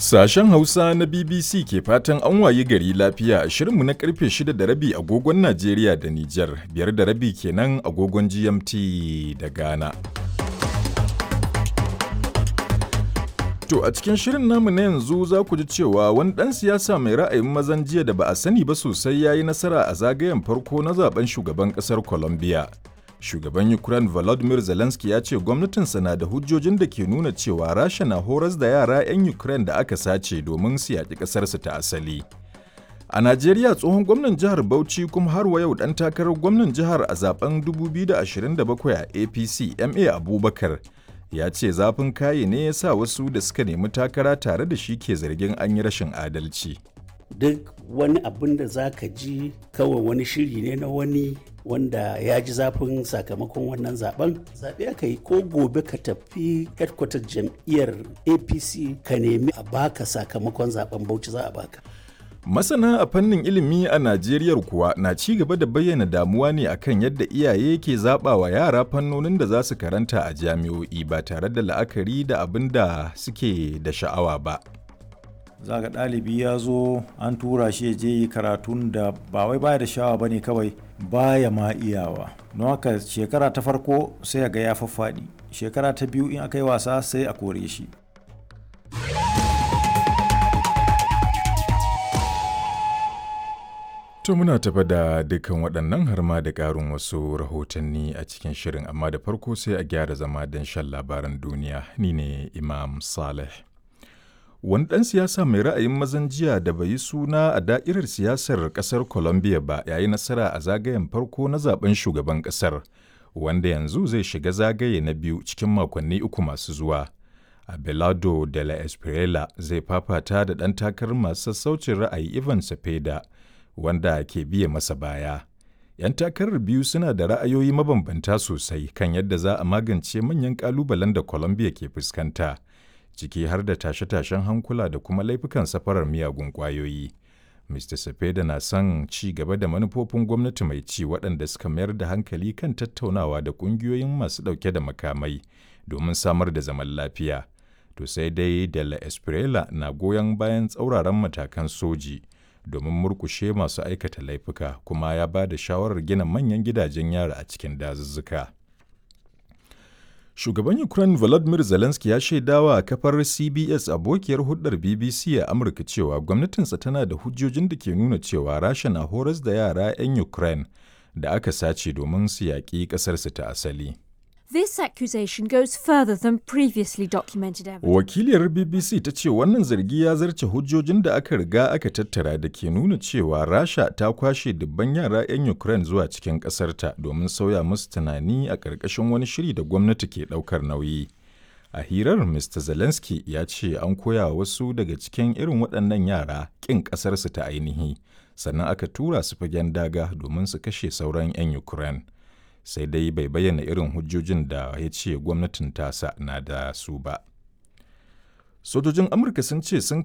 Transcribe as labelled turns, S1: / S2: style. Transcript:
S1: Sashen Hausa na BBC ke fatan an wayi gari lafiya a shirinmu na karfe 6 da rabi agogon Najeriya da Nijar, 5:30 kenan agogon GMT da Ghana. To a cikin shirin namu na yanzu za ku ji cewa wani ɗan siyasa mai ra'ayin mazan jiya da ba a sani ba sosai ya yi nasara a zagayen farko na zaben shugaban ƙasar Colombia. Shugaban Ukraine Volodymyr Zelensky ya ce gwamnatinsa na da hujjojin da ke nuna cewa Rasha na horas da yara 'yan Ukraine da aka sace domin su yaƙi ƙasarsu ta asali. A Najeriya, tsohon gwamnan jihar Bauchi kuma har wa yau ɗan takarar gwamnan jihar a zaben 2027 a APC, MA Abubakar, ya ce zafin kaye ne ya sa wasu da suka nemi takara tare da shi ke zargin an yi rashin adalci.
S2: Duk wani abin da za ka ji kawai wani shiri ne na wani wanda ya ji zafin sakamakon wannan zaben. Zaɓe aka yi, ko gobe ka tafi headquarter jam'iyyar APC ka nemi a baka sakamakon zaben Bauchi, za a baka.
S1: Masana a fannin ilimi a Najeriya kuwa na ci gaba da bayyana damuwa ne akan yadda iyaye ke zaɓa wa yara fannonin da za su karanta a jami'o'i ba tare da la'akari da abin da suke da sha'awa ba.
S3: Za ga ɗalibi ya zo an tura shi ya je yi karatun da ba wai baya da sha'awa ba ne, kawai baya ma iyawa. Don haka shekara ta farko sai ga ya faffaɗi, shekara ta biyu in aka yi wasa sai a kore shi.
S1: To muna tafa da dukkan waɗannan har ma da ƙarin wasu rahotanni a cikin shirin, amma da farko sai a gyara zama don shan labaran duniya. Ni ne Imam Saleh. Wani ɗan siyasa mai ra'ayin mazan jiya da bai yi suna a da'irar siyasar ƙasar Colombia ba ya yi nasara a zagayen farko na zaben shugaban ƙasar, wanda yanzu zai shiga zagaye na biyu cikin makonni 3 masu zuwa. Abelardo de la Espriella zai fafata da ɗan takarar masu sassaucin ra'ayi Ivan Cepeda, wanda ke biye masa baya. 'Yan takarar biyu suna da ra'ayoyi mabambanta sosai kan yadda za a magance manyan ƙalubalen da Colombia ke fuskanta, ciki har da tashe-tashen hankula da kuma laifukan safarar miyagun ƙwayoyi. Mr. Cepeda na son ci gaba da manufofin gwamnati mai ci waɗanda suka mayar da hankali kan tattaunawa da ƙungiyoyin masu ɗauke da makamai domin samar da zaman lafiya. To sai dai de la Espriella na goyon bayan tsauraran matakan soji domin murkushe masu aikata laifuka, kuma ya ba da shawarar gina manyan gidajen yara a cikin dazuzzuka. Shugaban Ukraine Volodymyr Zelensky ya shaidawa kafar CBS, abokiyar hulɗar BBC a Amurka, cewa gwamnatinsa tana da hujjojin da ke nuna cewa Rasha na horas da yara 'yan Ukraine da aka sace domin su yaƙi ƙasarsu ta asali.
S4: This accusation goes further than previously documented evidence.
S1: Wakiliyar BBC ta ce wannan zargi ya zarce hujjojin da aka riga aka tattara da ke nuna cewa Rasha ta kwashe dubban yara 'yan Ukraine zuwa cikin ƙasarta domin sauya musu tunani a ƙarƙashin wani shiri da gwamnati ke ɗaukar nauyi. A hirar, Mr. Zelensky ya ce an koya wasu daga cikin irin waɗannan yara ƙin ƙasarsu ta ainihi, sannan aka tura su fagen daga domin su kashe sauran 'yan Ukraine. Sai dai bai bayyana irin hujjojin da ya ce gwamnatin tasa na da su ba. Sojojin Amurka sun ce sun